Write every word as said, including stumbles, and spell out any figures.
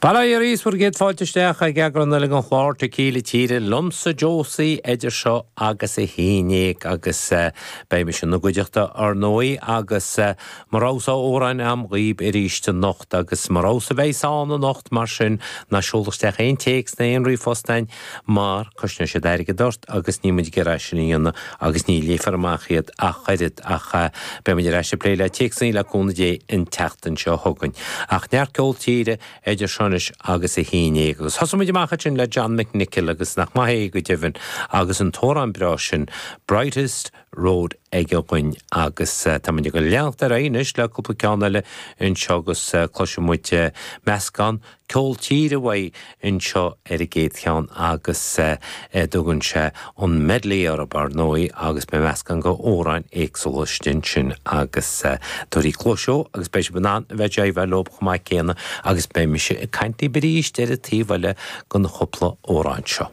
Bail ó Dhia oraibh is bhur gcéad fáilte isteach ag eagrán eile den chlár Tequila Tíre liomsa Josie idir seo agus a haon déag agus beidh mise ina gcuideachta ar ndóigh agus mo rogha amhráin a'm dhaoib arís anocht agus mo rogha a bheidh ann anocht mar sin ná seol isteach aon téacs ná aon ríomhphost a'inn mar cosnóidh siad airgead ort agus níl muid ag iarraidh sin a dhéanamh agus ní léifear amach iad ach oiread ach beidh muid ar ais ag plé le téacsanna le cúnamh Dé an tseachtain seo chugainn. Ach neart ceol tíre idir seo anois agus a haon déag. Agus thosaigh muid amach ansin le John McNicholl agus nach maith é go deimhin agus an t-amhrán breá sin Brightest Road aige dhuinn agus tá muid ag leanacht ar aghaidh anois le cúpla ceann eile anseo agus cloisfidh muid meascán ceol tíre uaidh anseo ar an gcéad cheann agus tugann sé an medley orthu ar ndóigh agus beidh meascán de amhráin éagsúla istigh ansin agus tabhair cluas dó agus beidh sibh in ann a bheith ag jiveáil leo chomh maith céanna agus beidh mise ag caint libh arís ar an taobh eile den chúpla amhrán seo.